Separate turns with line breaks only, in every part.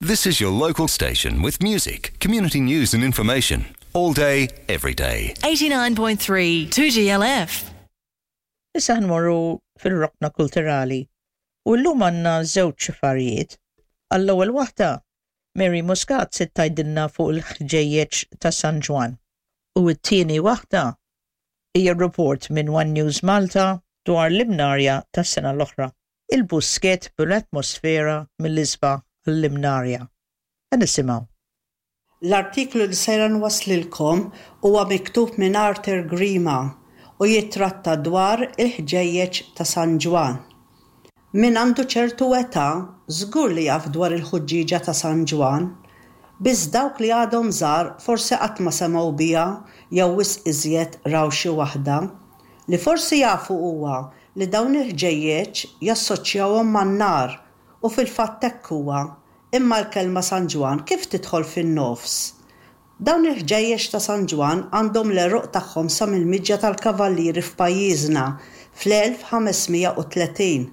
This is your local station with music, community news and information. All day, every day.
89.3 2GLF.
Issa nmorru fil-rokna kulturali. U llum għandna żewġ affarijiet. Għall-ewwel waħda, Mary Muscat se tgħidilna fuq il-ħġejjeġ ta' San Ġwann. U t-tieni waħda hija report minn One News Malta dwar l-Imnarja tas-sena l-oħra. Il-Buskett bl-atmosfera mill-isbaħ għall-Imnarja. Ħa nisimgħu.
L-artiklu li sejra nwasslilkom huwa miktub minn Arthur Grima u jittratta dwar il-ħġejjeġ ta' San Ġwann. Min għandu ċertu età żgur li jaf dwar il-ħuġġieġa ta' San Ġwann. Biss dawk li għadhom żgħar forsi qatt ma semgħu biha jew wisq iżjed raw xi waħda. Li forsi jafu huwa li dawn il-ħġejjeġ jassoċjawhom man-nar u fil-fatt hekk huwa, imma l-kelma San Ġwann kif tidħol fin-nofs? Dawn il-ħġejjeġ ta' San Ġwann għandhom l-għeruq tagħhom sa mill-miġja tal-Kavallieri f'pajjiżna fl-1530.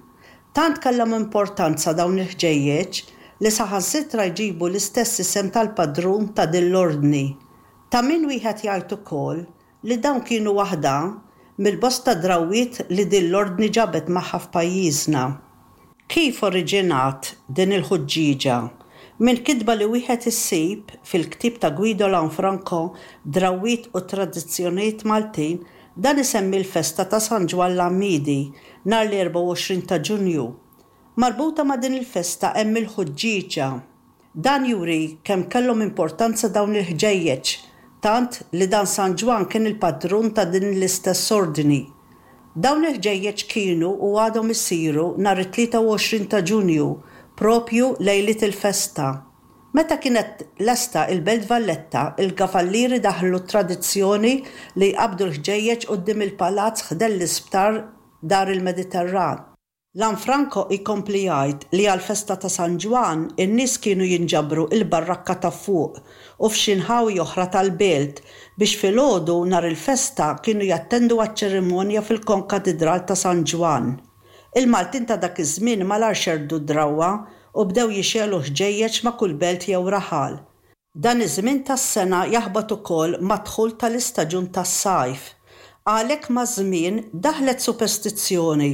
Tant kellhom importanza dawn il-ħġejjeġ li saħansitra jġibu l-istess isem tal-padrun ta' din l-ordni. Ta' min wieħed jgħid ukoll li dawn kienu waħda mill-bosta drawwiet li din l-Ordni ġabet magħha f'pajjiżna. Kif oriġinat din il-ħuġġieġa? Minn kitba li wieħed isib fil-ktieb ta' Guido Lanfranco Drawwiet u Tradizzjonijiet Maltin, dan isemmi l-festa ta' San Ġwann l-Għammiedi nhar l-24 ta' Ġunju. Marbuta ma' din il-festa hemm il-ħuġġieġa. Dan juri kemm kellhom importanza dawn il-ħġejjeġ, tant li dan San Ġwann kien il-padrun ta' din l-istess ordni. Dawn il-ħġejjeġ kienu u għadhom isiru nhar it-23 ta' Ġunju, proprju lejliet il-festa. Meta kienet lesta il-Belt Valletta, il-Gafallieri daħlu t-tradizzjoni li jqabbdu l-ħġejjeġ quddiem il-palazz ħdejn l-isptar Dar il-Mediterran. Lanfranco jkompli jgħid li għall-festa ta' San Ġwann in-nies kienu jinġabru il-Barrakka ta' Fuq u f'xi nħawi oħra tal-belt biex filgħodu nhar il-festa kienu jattendu għaċ-ċerimonja fil-Konkatidral ta' San Ġwann. Il-Maltin ta' dak iż-żmien malajr xerrdu d-drawwa u bdew jixegħlu ħġejjeġ ma' kull belt jew raħal. Dan iż-żmien tas-sena jaħbat ukoll mad-dħul tal-istaġun tas-sajf. Għalhekk maż-żmien daħlet superstizzjoni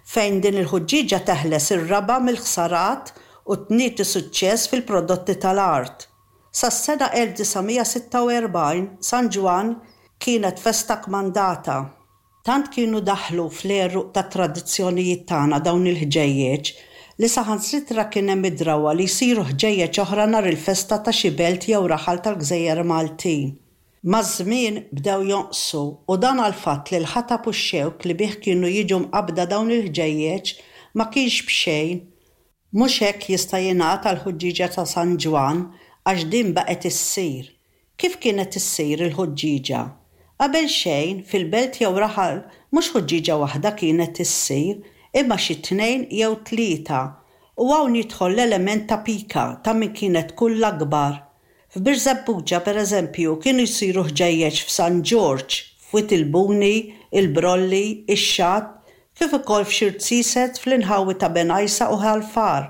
fejn din il-ħuġġieġa teħles ir-raba' mill-ħsarat u tnieti suċċess fil-prodotti tal-art. Sas-sena 1946 San Ġwann kienet festa kmandata. Tant kienu daħlu fl-għeruq tat-tradizzjonijiet tagħna dawn il-ħġejjeġ li saħansitra kien hemm id-drawwa li jsiru ħġejjeġ oħra nhar il-festa ta' xi belt jew raħal tal-gżejjer Maltin. Maż-żmien bdew jonqsu u dan għall-fatt li l-ħatab u x-xewk li bih kienu jiġu mqabbda dawn il-ħġejjeġ ma kienx b'xejn. Mhux hekk jista' jingħad għall-ħuġġieġa ta' San Ġwann għax din baqgħet issir. Kif kienet issir il-ħuġġieġa? Qabel xejn, fil-belt jew raħal mhux ħuġġieġa waħda kienet issir, imma xi tnejn jew tlieta. U hawn jidħol l-element ta' pika ta' min kienet tkun l-akbar. F'Birżebbuġa, per eżempju, kienu jsiru ħġejjeġ f'San Ġorġ, f'Wied il-Buni, il-Brolli, ix-Xatt, kif ukoll f'xi rziezet fl-inħawi ta' Bengħajsa u Ħal Far.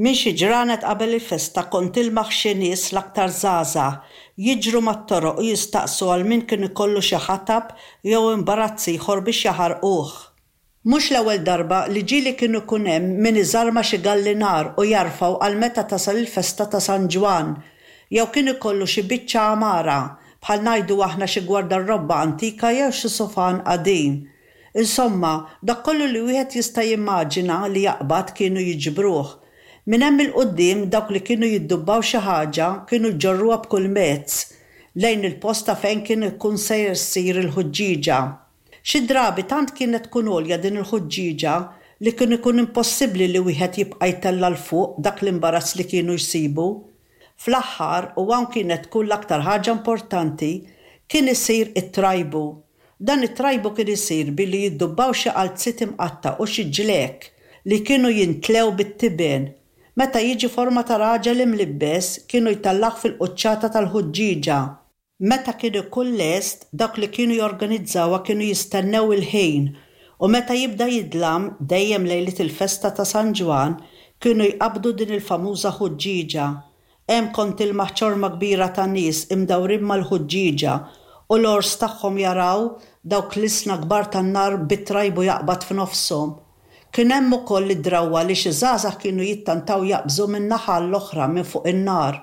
Minn xi ġranet qabel il-festa kont tilmaħ xi nies l-aktar żgħażagħ jiġru mat-toroq u jistaqsu għal min kien ikollu xi ħatab jew imbarazz ieħor biex jaħarquh. Mhux l-ewwel darba li ġieli kien ikun hemm min iżarma xi gallinar u jarfgħu għal meta tasal il-festa ta' San Ġwann jew kien ikollu xi biċċa għamara, bħal ngħidu aħna xi gwardarrobba antika jew xi sufan qadim. Insomma, dak kollu li wieħed jista' jimmaġina li jaqbad kienu jiġbruh. Minn hemm 'il quddiem dawk li kienu jiddubbaw xi ħaġa kienu jġorruha b'kull mezz lejn il-post ta' fejn kien ikun sejjer ssir il-ħuġġieġa. Xi drabi tant kienet tkun għolja din il-ħuġġieġa li kien ikun impossibbli li wieħed jibqa' jtella' 'l fuq dak l-imbarazz li kienu jsibu. Fl-aħħar, u hawn kienet tkun l-aktar ħaġa importanti, kien isir it-trajbu. Dan it-trajbu kien isir billi jiddubbaw xi qalziet imqatta' u xi ġlekk li kienu jintlew bit-tiben. Meta jiġi forma ta' raġel imlibbes, kienu jtellgħuh fil-quċċata tal-ħuġġieġa. Meta kien ikun lest, dawk li kienu jorganizzawha kienu jistennew il-ħin u meta jibda jidlam, dejjem lejliet il-festa ta' San Ġwann, kienu jqabbdu din il-famuża ħuġġieġa. Hemm kont tilmaħ ċorma kbira ta' nies imdawrin mal-ħuġġieġa u l-għors tagħhom jaraw dawk l-ilsna kbar tan-nar bit-trajbu jaqbad f'nofshom. Kien hemm ukoll id-drawwa li xi żgħażagħ kienu jittantaw jaqbżu minn naħa għall-oħra minn fuq in-nar.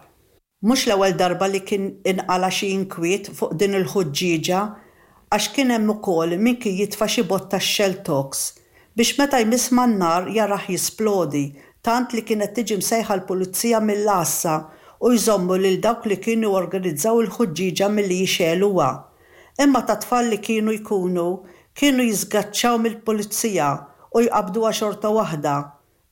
Mhux l-ewwel darba li kien inqala' xi inkwiet fuq din il-ħuġġieġa għax kien hemm ukoll min kien jitfa' xi botta Shelltox biex meta jmiss man-nar jarah jisplodi tant li kienet tiġi msejħa l-pulizija mill-għassa u jżommu lil dawk li kienu organizzaw il-ħuġġieġa milli jixegħluha. Imma ta' tfal li kienu jkunu, kienu jiżgaċċaw mill-pulizija u jqabbduha xorta waħda.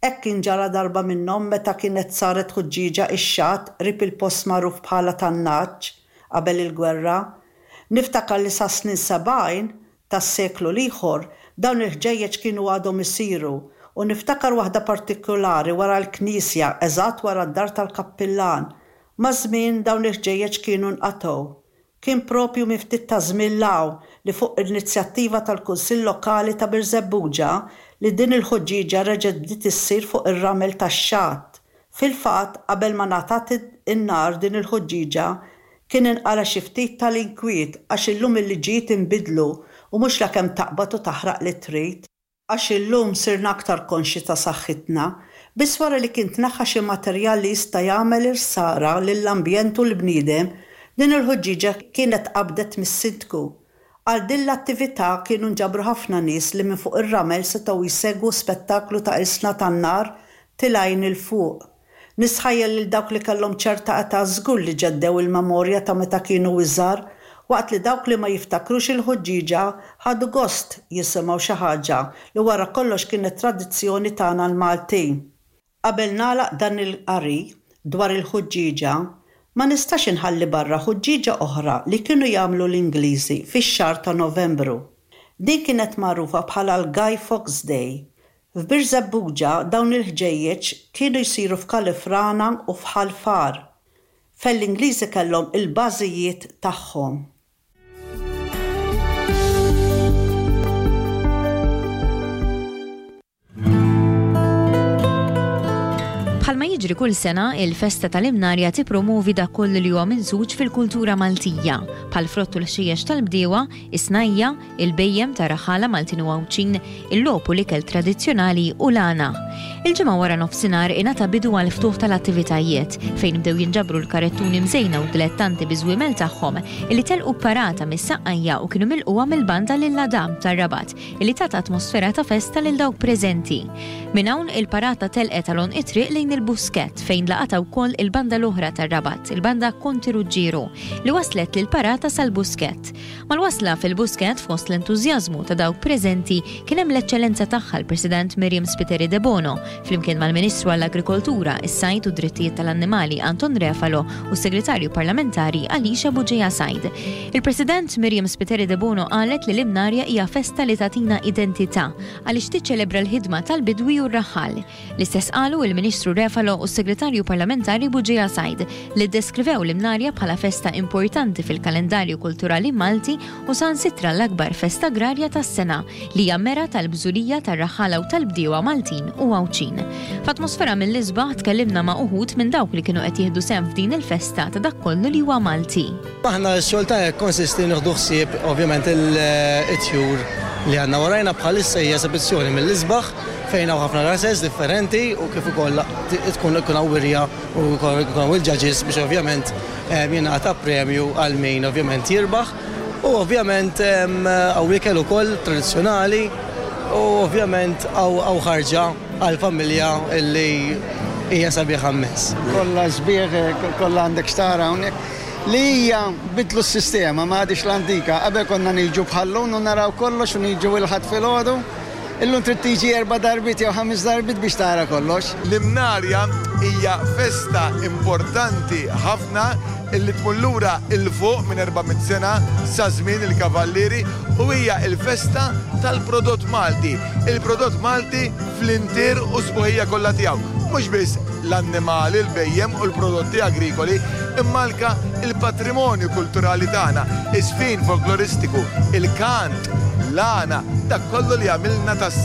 Hekk kien ġara darba minnhom meta kienet saret ħuġġieġa ix-xatt qrib il-post magħruf bħala tan-Nagħaġ qabel il-gwerra. Niftakar li sas-snin 70 tas-seklu l-ieħor dawn il-ħġejjeġ kienu għadhom isiru u niftakar waħda partikulari wara l-knisja eżatt wara d-dar tal-kappillan. Maż-żmien dawn il-ħġejjeġ kienu nqatgħu. Kien proprju minn ftit ta' żmien 'l hawn li fuq inizjattiva tal-Kunsill Lokali ta' Birżebbuġa li din il-ħuġġieġa reġgħet bdiet issir fuq ir-ramel tax-xatt. Fil-fatt, qabel ma ngħatat in-nar din il-ħuġġieġa, kien inqala' xi ftit tal-inkwiet għax illum il-liġijiet inbidlu u mhux lakemm taqbad u taħraq li trid. Għax illum sirna aktar konxji ta' saħħitna. Biss wara li kien tneħħa xi materjal li jista' jagħmel il-ħsara lill-ambjent u l-bniedem, din il-ħuġġieġa kienet tqabbdet mis-Sindku. Għal din l-attività kienu nġabru ħafna nies li minn fuq ir-ramel setgħu jsegwu spettaklu ta' ilsna tan-nar tilgħin 'il fuq. Nistħajjel lil dawk li kellhom ċerta età żgur li ġeddew il-memorja ta' meta kienu iżgħar, waqt li dawk li ma jiftakrux il-ħuġġieġa ħadu gost jisimgħu xi ħaġa li wara kollox kienet tradizzjoni tagħna l-Maltin. Qabel nagħlaq dan il-qari dwar il-ħuġġieġa, ma nistax inħalli barra ħuġġieġa oħra li kienu jagħmlu l-Ingliżi fix-xahar ta' Novembru. Din kienet magħrufa bħala l-Guy Fawkes Day F'Birżebbuġa dawn il-ħġejjeġ kienu jsiru f'Kalifrana u f'Ħal Far, fejn l-Ingliżi kellhom il-bażijiet tagħhom.
Bħalma jiġri kull sena, il-festa tal-Imnarja tippromovi dak kollu li huwa minsuġ fil-kultura Maltija, bħall-frott u l-ħxejjex tal-bdiewa, is-snajja', il-bhejjem ta' raħħala Maltin u Għawdxin, il-logħob u l-ikel tradizzjonali u l-għana. Il-Ġimgħa wara nofsinhar ingħata bidu għall-ftuħ tal-attivitajiet, fejn bdew jinġabru l-karettuni mżejna u d-dilettanti biż-żwiemel tagħhom illi telqu b'parata mis-Saqqajja u kienu milqugħa mill-banda Lil Adam tar-Rabat illi tat atmosfera ta' festa lil dawk preżenti. Minn hawn il-parata telqet għal għonq it-triq lejn il-Buskett fejn laqatha wkoll il-banda l-oħra tar-Rabat, il-banda Konti Ruġġieru, li wasslet lill-parata sal-Buskett. Mal-wasla fil-Buskett fost l-entużjażmu ta' dawk preżenti kien hemm l-Eċċellenza Tagħha l-President Myriam Spiteri Debono, flimkien mal-Ministru għall-Agrikoltura, is-Sajd u d-Drittijiet tal-Annimali Anton Refalo u s-Segretarju Parlamentari Alicia Bugeja Said. Il-President Myriam Spiteri Debono qalet li l-Imnarja hija festa li tagħtina identità għaliex tiċċelebra l-ħidma tal-bidwi u r-raħħal. L-istess qalu il-Ministru Refalo u s-Segretarju Parlamentari Bugeja Said, li ddeskrivew l-Imnarja bħala festa importanti fil-kalendarju kulturali Malti u saħansitra l-akbar festa agrarja tas-sena, li hija mera tal-bżulija tar-raħħala u tal-bdiewa Maltin u Għawdxin. F'atmosfera mill-isbaħ tkellimna ma' uħud minn dawk li kienu qed jieħdu sehem f'din il-festa ta' dak kollu li huwa Malti.
Aħna x-xogħol tagħna jikkonsisti nieħdu ħsieb ovvjament it-tjur li għandna warajna bħalissa hija esebizzjoni mill-isbaħ fejn hawn ħafna rases differenti u kif ukoll tkun ikun hawn wirja u jkun hawn il-judges biex ovvjament jingħata premju għal min ovvjament jirbaħ u ovvjament hawn ikel ukoll tradizzjonali u ovvjament hawn ħarġa għall-familja li hija sabiħa mmens.
Kollha sbieħ, kollha għandek x'tara hawnhekk. Li hija bidlu s-sistema, ma għadhiex l-antika. Qabel konna niġu bħal-lum u naraw kollox u niġu il-Ħadd filgħodu. Illum trid tiġi erba' darbiet jew ħames darbiet biex tara kollox.
L-Imnarja hija festa importanti ħafna illi tmur lura 'l fuq minn 400 sena sa żmien il-Kavallieri u hija l-festa tal-prodott Malti. Il-prodott Malti fl-intier u s-sbuħija kollha tiegħu. Mhux biss l-annimali, l-bhejjem u l-prodotti agrikoli, imma anke l-patrimonju kulturali tagħna, iż-żfin folkloristiku, il-kant, l-għana, dak kollu li jagħmilna tas.